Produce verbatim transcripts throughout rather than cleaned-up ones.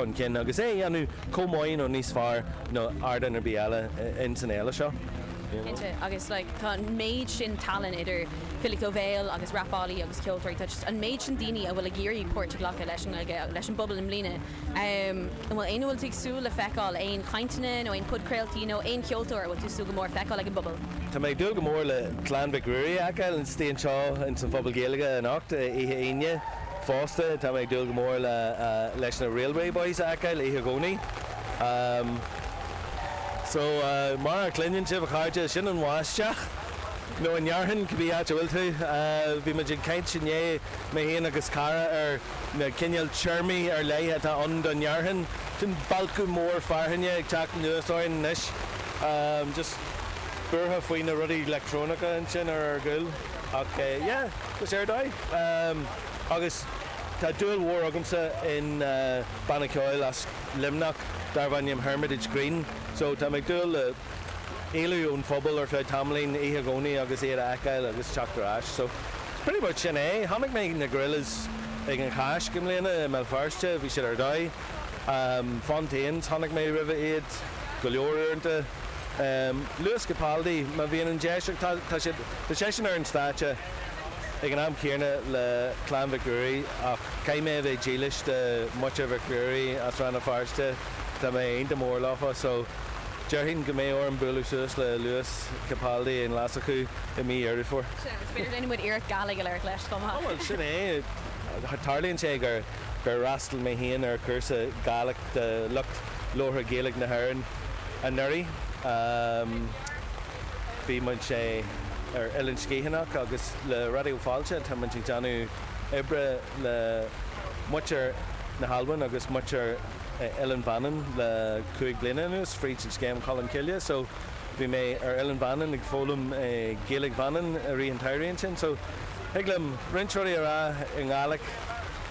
chun cinn agus é a dhéanamh chomh maith nó níos fearr ná ardán ar bith eile in san fhéile seo. Cinnte, agus like tá an méid sin tallann idir filíocht ó bhéal agus rapálaí agus ceoltóirí, tá just an méid sin daoine a bhfuil ag iarraidh páirt a ghlacadh leis an Ghaeilge leis an bpobal i mbliana. Um, an bhfuil aon bhfuil tú ag súil le feiceáil aon chainteanna nó aon podchraoltaí nó aon cheoltóir a bhfuil tú súil go mór feiceáil ag an bpobal? Tá mé ag dúil go mór le Clann Mhic Ruairí a fheiceáil istigh anseo in san Phuball Gaeilge anocht oíche Aoine fosta tá mé ag dúil go mór le uh, leis na Railway Boys a fheiceáil oíche Dhomhnaigh. Um, so uh, mar a chluineann sibh a chairde sin an bháisteach. nó an fhearthainn cibé áit a bhfuil tú bhí muid ag caint inné mé féin agus cara ar na cineál téarmaí ar leith atá ann don fhearthainn sin balcadh mór fearthainne ag teacht anuas orainn anois um, just buartha faoi na rudaí leictreonacha ansin ar ar gcúl ach uh, yeah, go sé ar um, agus tá dúil mhór agamsa in uh, banna ceoil as Luimneach darb ainm Hermitage Green, so tá mé ag dúil le éalú ón phuball ar feadh tamaillín oíche Dhomhnaigh agus iad a fheiceáil agus teacht ar ais. So pretty much sin é. Chonaic mé na Gorillaz ag an Cháisc i mbliana i mBéal Feirste, bhí siad ar dóigh. Um, Fontaines chonaic mé roimhe iad go leor uaireanta. Um, Lewis Capaldi má bhíonn an deis tá tá seisean ar an stáitse ag an am céanna le Clann Mhic Ruairí ach caithfidh mé bheith dílis do mhuintir Mhic Ruairí as Rann na Feirste tá mé iontach mór leofa so déarfainn go mbeidh orm bualadh suas le Lewis Capaldi in Leasachú i mí Dheireadh Fómhair. B'fhéidir déanfaidh muid iarracht Gaeilge a labhairt leis chomh maith. Bhuel sin é tarlaíonn sé gur gur fhreastail mé féin ar chúrsa Gaeilge de lucht labhartha Gaeilge na hÉireann anuraidh. Um, bhí muid sé ar Oileán Sgiathanach agus le Raidió Fáilte tá muid ag déanamh oibre le muintir na hAlban agus muintir Oileán Mhanann le cúig bliana anuas fríd an scéim Colmcille, so bhí mé ar Oileán Mhanann ag foghlaim Gaeilge Mhanann i rith an tsamhraidh sin, so thig liom roinnt rudaí a rá i nGàidhlig,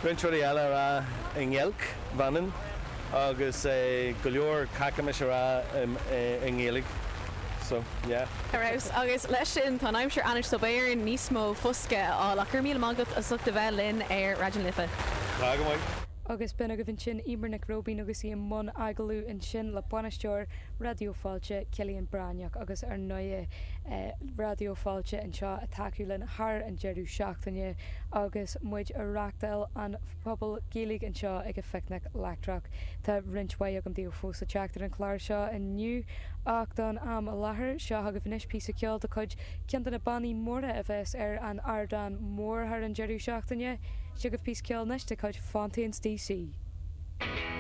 roinnt rudaí eile a rá i nGaeilge Mhanann agus go leor cacamas a rá i nGaeilge. So yeah. Arís agus leis sin tá aimsir anois so beidh orainn níos mó foscadh a fháil ach go raibh míle maith agat as ucht a bheith linn ar Raidió na Life. Tá go maith. Agus b'in agaibh ansin Emer Nic Róibín agus í i mbun agallamh ansin le bainisteoir Raidió Fáilte Cillian Breathnach agus ar ndóigh eh, Raidió Fáilte anseo ag tacú linn thar an deireadh seachtaine agus muid ag reáchtáil an Phuball Gaeilge anseo ag an Phicnic Leictreach. Tá roinnt mhaith agam daoibh fós le teacht ar an chlár seo inniu ach don am i láthair seo agaibh anois píosa ceoil de chuid ceann de na bannaí móra a bheas ar an ardán mór thar an deireadh seachtaine, Seo agaibh píosa ceoil anois de chuid Fontaines DC.